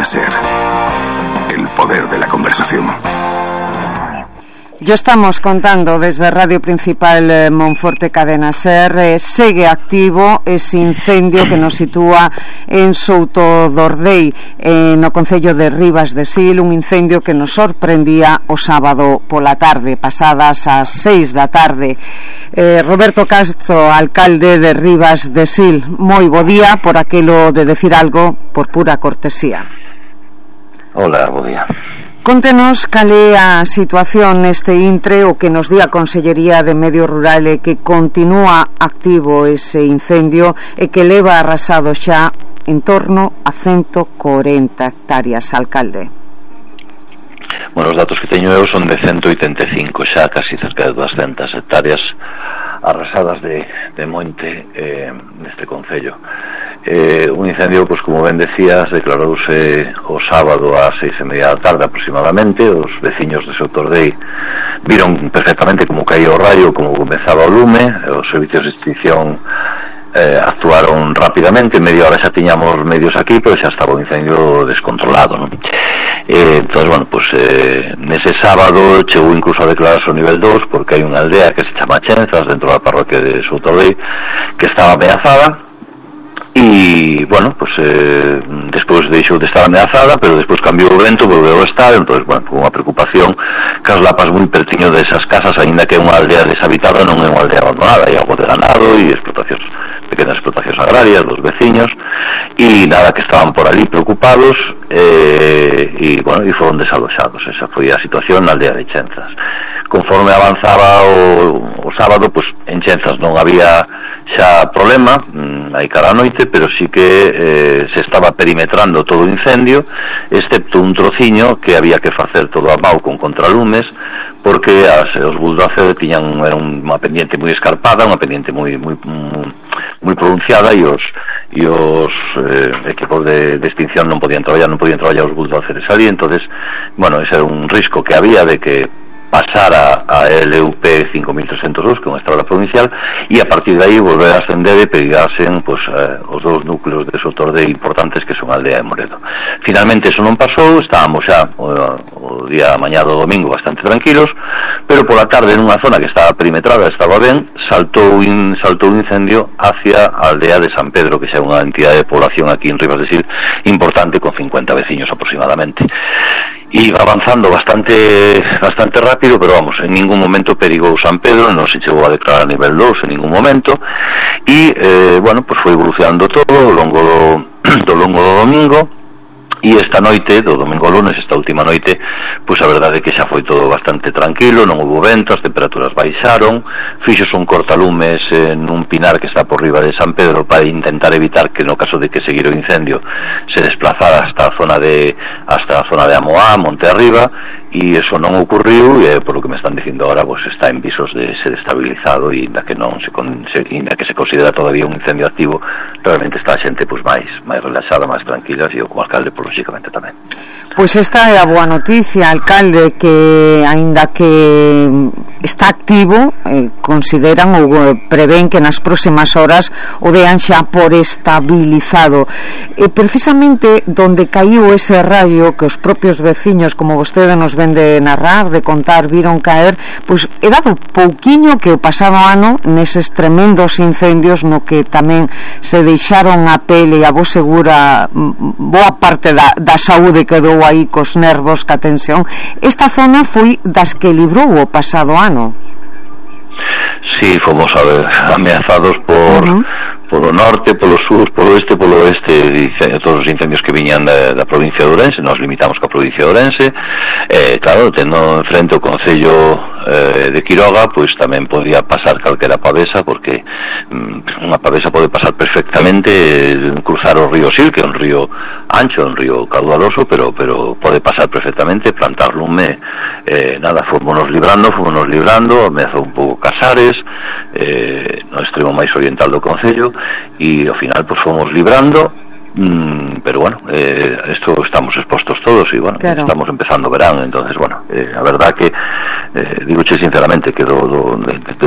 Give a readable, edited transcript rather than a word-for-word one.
Cadena SER. El poder de la conversación. Ya estamos contando desde Radio Principal Monforte Cadena SER, segue activo ese incendio que nos sitúa en Soutodordei, no concello de Ribas de Sil, un incendio que nos sorprendía o sábado pola tarde, pasadas as 6 da tarde. Roberto Castro, alcalde de Ribas de Sil, moi bo día, por aquilo de decir algo por pura cortesía. Hola, bo día. Contenos cal é a situación neste intre, o que nos di a Consellería de Medio Rural e que continúa activo ese incendio e que leva arrasado xa en torno a 140 hectáreas, alcalde. Bueno, os datos que teño eu son de 185, xa casi cerca de 200 hectáreas arrasadas de monte neste concello. Un incendio, pues como ben decías, declarouse o sábado ás 6:30 da tarde aproximadamente. Os veciños de Soutodordei viron perfectamente como caía o raio, como comezaba o lume. Os servicios de extinción actuaron rápidamente, media hora xa tiñamos medios aquí, pero xa estaba o incendio descontrolado, non? Entón, bueno, pues nese sábado chegou incluso a declararse o nivel 2, porque hai unha aldea que se chama Chenzas dentro da parroquia de Soutodordei que estaba ameazada. E, bueno, pues despois deixou de estar ameazada, pero despois cambiou o vento, volveu a estar. Entón, bueno, con unha preocupación que as lapas moi pertiño desas casas, aínda que é unha aldea deshabitada, non é unha aldea abandonada, hai algo de ganado e explotacións, pequenas explotacións agrarias dos veciños, e nada, que estaban por ali preocupados, e, bueno, e foron desaloxados. Esa foi a situación na aldea de Chenzas. Conforme avanzaba o sábado, pues en Chenzas non había xa problema, hai cara a noite, pero sí que se estaba perimetrando todo o incendio, excepto un trociño que había que facer todo a mau con contralumes, porque os bulldozer era unha pendiente moi escarpada, unha pendiente moi pronunciada, e os equipos de extinción non podían traballar os bulldozeres ali. Entonces, bueno, ese era un risco que había de que pasara a LUP 5302, que é unha estrada provincial, e a partir de aí volver a ascender e pegasen pues, os dous núcleos de Soutodordei importantes que son a aldea de Moredo. Finalmente eso non pasou, estábamos xa o día mañá do domingo bastante tranquilos, pero pola tarde nunha zona que estaba perimetrada, estaba ben, saltou un incendio hacia a aldea de San Pedro, que xa é unha entidade de población aquí en Ribas de Sil importante, con 50 veciños aproximadamente. E iba avanzando bastante rápido, pero vamos, en ningún momento perigou San Pedro, non se chegou a declarar nivel 2 en ningún momento, e, bueno, pues foi evolucionando todo ao longo do domingo. E esta noite, do domingo ao lunes, esta última noite, pois a verdade é que xa foi todo bastante tranquilo, non houve vento, as temperaturas baixaron, fixos un cortalumes nun pinar que está por riba de San Pedro para intentar evitar que no caso de que seguira o incendio se desplazara hasta a zona de Amoá, monte arriba, e eso non ocurriu, e por lo que me están dicindo agora, pues está en visos de ser estabilizado, e ainda que se considera todavía un incendio activo, realmente está a xente pues máis relaxada, máis tranquila, e eu como alcalde por lógicamente tamén. Pois esta é a boa noticia, alcalde, que aínda que está activo, consideran ou prevén que nas próximas horas o dean xa por estabilizado. Precisamente donde caíu ese rayo que os propios veciños, como vostede nos ven de narrar, de contar, viron caer, pois é dado pouquiño que o pasado ano neses tremendos incendios no que tamén se deixaron a pele e a voz segura boa parte da saúde quedou aí cos nervos, ca tensión. Esta zona foi das que librou o pasado ano. Sí, fomos ameazados polo norte, polo sur, polo oeste, todos os incendios que viñan da provincia de Ourense. Nos limitamos ca provincia de Ourense, claro, tendo en frente o concello de Quiroga, pois tamén podía pasar calquera pavesa, porque unha pavesa pode pasar perfectamente, cruzar o río Sil, que é un río ancho, un río caudaloso, pero pode pasar perfectamente, plantar lume, nada, fomos librando, ameazou un pouco Casares, no extremo máis oriental do concello, e ao final pues fomos librando, pero bueno, esto estamos expostos todos, e bueno, claro, estamos empezando verán. Entonces bueno, a verdad que digoche sinceramente que de